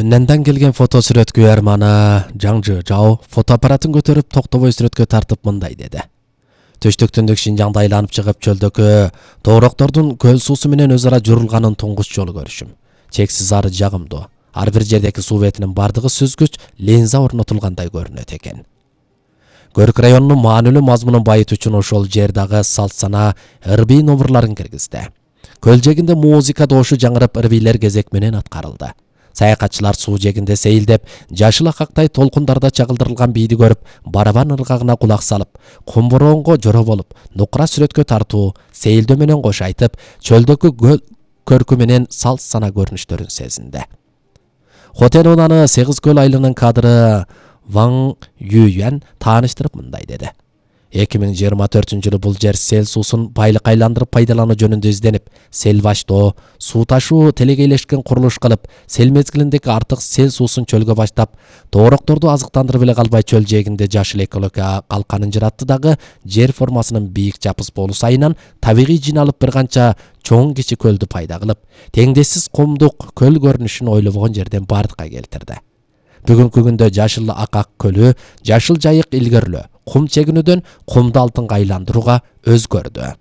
Yönlenden kelgen foto сүрөткө Эрманы Жаңжы Жау фотоаппаратын көтөрүп токтобой сүрөткө тартып мындай деди. Төштөктүндүк Шинжаңда айланып чыгып чөлдөгү тоороктордун көл суусу менен өз ара журулганын туңгуч жолу көрүшүм. Чексиз ары жагымдуу. Ар бир жердеки суу бетинин бардыгы сүзгүч линза орнотулгандай көрүнөт экен. Көрүк районунун маанилүү мазмунун байыт үчүн ошол жер дагы салт сана ырбий номурларын киргизди. Көл жегинде музыка доошу жаңырып ырбийлер кезек менен аткарылды. Саякатчылар суу жегинде сейилдеп, жашыл акактай толкундарда чагылдырылган бийди көрүп, барабан ыргагына кулак салып, кумбуроонго жоро болуп, нукура сүрөткө тартуу, сейилдөө менен кош айтып, чөлдөгү көркү менен салт сана көрүнүштөрүн сезинди. Хотен унаны Сегиз көл айылынын кадры Ван Юйян тааныштырып мындай деди. 2024-жылы бул жер сел суусун байлык айландырып пайдалануу жөнүндө изденип, сел баштоо, суу ташуу телегейлешкен курулуш кылып, сел мезгилиндеги артык сел суусун чөлгө баштап, тоорокторду азыктандырып эле калбай чөл жээгинде жашыл экология калканын жаратты дагы жер формасынын бийик жапыс болуусу айынан табигый жиналып бир канча чоң кичи көлдү пайда кылып, теңдессиз кумдук көл көрүнүшүн ойлобогон жерден бардыкка келтирди. Бүгүнкү күндө жашыл акак көлү, жашыл жайык илгерлөө, кум чегинүүдөн кумду алтынга айландырууга өзгөрдү.